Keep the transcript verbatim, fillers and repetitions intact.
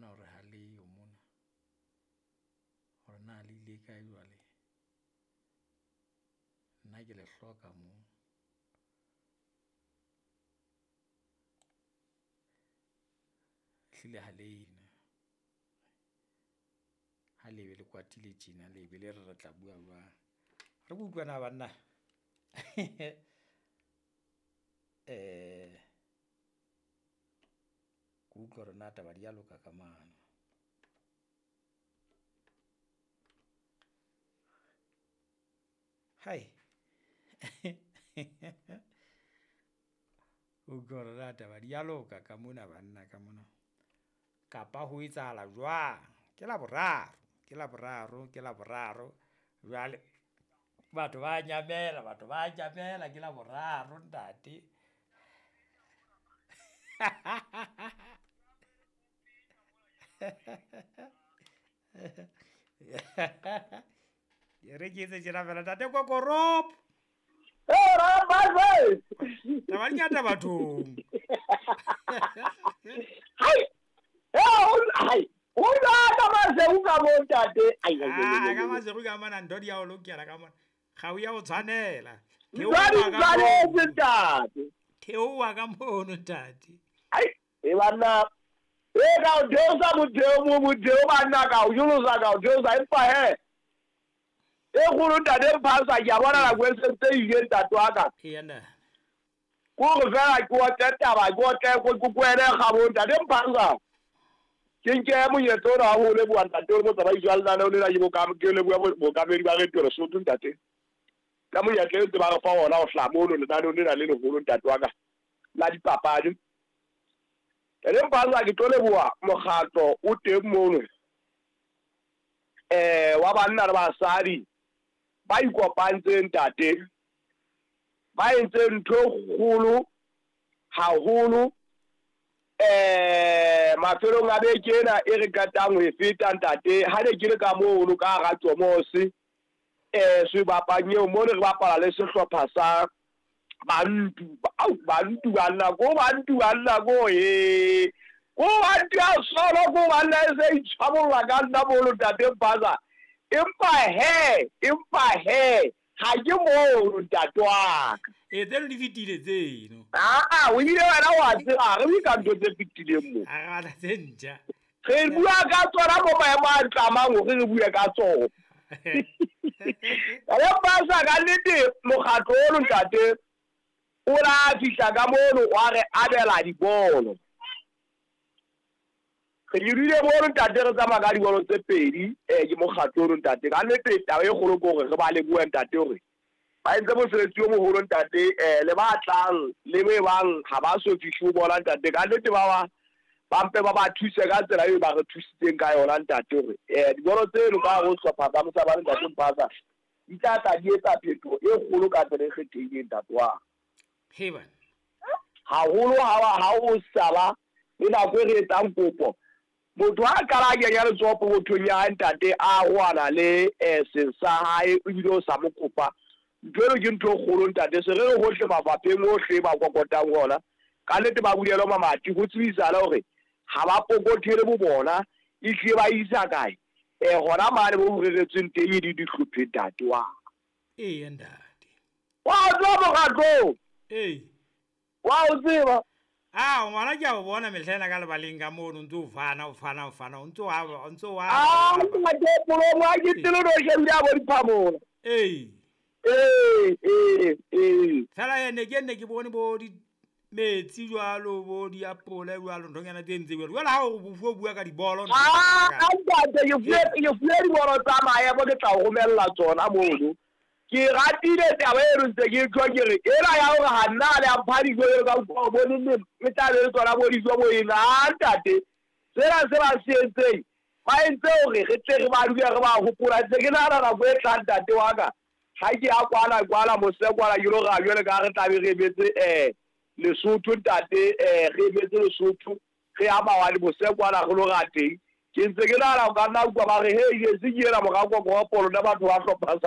fumana hore ha leyo mona. Hore na le ile kae jwale. Nna ke le hloka mo. Ehlile ha le ha le be le kwatile tjena, le be le re re tla bua jwang. Re ke utlwe na banna. Eh ke utlwe hore na taba di a loka ka mane. Hai. Utlwe hore na taba di a loka ka mona banna ka mona. Kapa ho etsahala jwang? Ke Laboraro, ke Laboraro, ke Laboraro. Jwale batho ba nyamela, batho ba nyamela ke Laboraro ntate. E re ke etse tjena fela ntate Kokorop. Hey, Rambaze! Taba di ngata bathong. Hai! Hai! O ka Maseru ka mo ntate. Ai ai Ah, ka Maseru ka mona ntho di ya o lokela ka mona. Ga o ya o tshwanela. Theoha ka mono ntate. Theoha ka mono ntate. Ai, e banna. E ka o theosa modeo mo modeo banna ka o jolosa ka o theosa empa he. E kgolo ntate Mphasa ke a bona nako e sentse e ile ntate wa ka. Eya nna. Kore fela ke otle taba ke otle ko kwele kgabo ntate Mphasa. Ke nke monyetla ona wa ho leboha ntate o motsamaisi wa lenaneo lena ke bokam ke leboha bookamedi ba Radio Lesotho ntate. Ka monyetla eo ba re fa ona ho hlaha mono lenaneong lena le leholo ntate wa ka la dipapadi. Ntate Mphasa ke tlo leboha mokgatlo o teng mono eh wa banna le basadi ba ikopantseng ntate, ba entseng ntho e kgolo haholo eh mafelong a beke ena e re qetang ho e feta ntate. Ha ne ke le ka mono ka hara Tsomosi eh sebapang eo mo ne re bapala le sehlopha sa Bantu. Au Bantu banna ko Bantu banna ko e ko Bantu ya solo ko banna e se itshwabolla ka nna mono ntate Mphasa. Empa he, empa he, ha ke mono ntate wa ka. E tseno di fetile tseno. Ah, o ile wena wa tseba, re bue ka ntho tse fetileng mo. Ha re batla tse ntjha. Re bua ka tsona mo maemo a tlamang hore re bue ka tsona. Re Mphasa ka nnete mokgatlo ono ntate o la fihla ka mono wa re abela dibolo. Re dirile mono ntate re tsamaya ka dibolo tse pedi eh ke mokgatlo ono ntate. Ka nnete taba e kgolo ke hore re ba lebohe ntate hore ba entse mosebetsi o moholo ntate eh le ba tlang le be bang ha ba so fihle ho bona ntate. Ka nnete ba ba ba mpe ba ba thuse ka tsela eo ba re thusitseng ka yona ntate hore eh dibolo tseno ka ho hlopha tsa Mosabane ntate Mphasa di tla tla di etsa phetoho e kgolo ka tsela e kgethehileng ntate wa. Heban. Haholo ha ha o saba le nako e re etsang kopo. Motho ha qala a kenya letsoho pokothong ya hae ntate a roana le eh seng sa hae ebile o sa mo kopa. Ntho eno ke ntho e kgolo ntate. Se re re hohle mafapheng ohle ba kokotang ona. Ka nnete ba bulelwa mamati ho tsebisala hore ha ba pokothele bo bona ehlile ba isa kae. Eh hona mane bo reretsweng teng e di dihlophe ntate wa. Eya ntate. Wa tswa mokgatlo. Ee. Wa o tseba. Ah, ngwana ke a o bona mehla ena ka lebaleng ka mono o ntso o fana o fana o fana o ntso a o ntso a. Ah, ntate molomo ha ke tsebe no shebile a bo diphamola. Ee. Ee, ee, ee. Fela ene ke nne ke bone bo di metsi jwalo bo diapole jwalo nthonyana tse ntse jwalo. Jwale ha o bua bua ka dibolo. Ah, ntate ke fuwe ke fuwe dibolo tsa maemo ke tla o romella tsona mono. Ke ratile taba eno ntse ke tlo ke re ena ya hore ha nna le a mpha dijo jwalo ka utlwa bo nne e tla be le tsona bo dijo bo ena. Ah, ntate sena se ba se entseng ba entse hore re tle re ba dule re ba hopola. Ntse ke nahana nako e tlang ntate wa ka ha ke ya kwana kwana mose kwana ke lo ra jwale ka re tla be re emetse eh Lesotho ntate eh re emetse Lesotho re ya mawane mose kwana re lo ra teng. Ke ntse ke nahana o ka nna utlwa ba re hei se ke ena mora Kokoropolo nna batho ba hlopha sa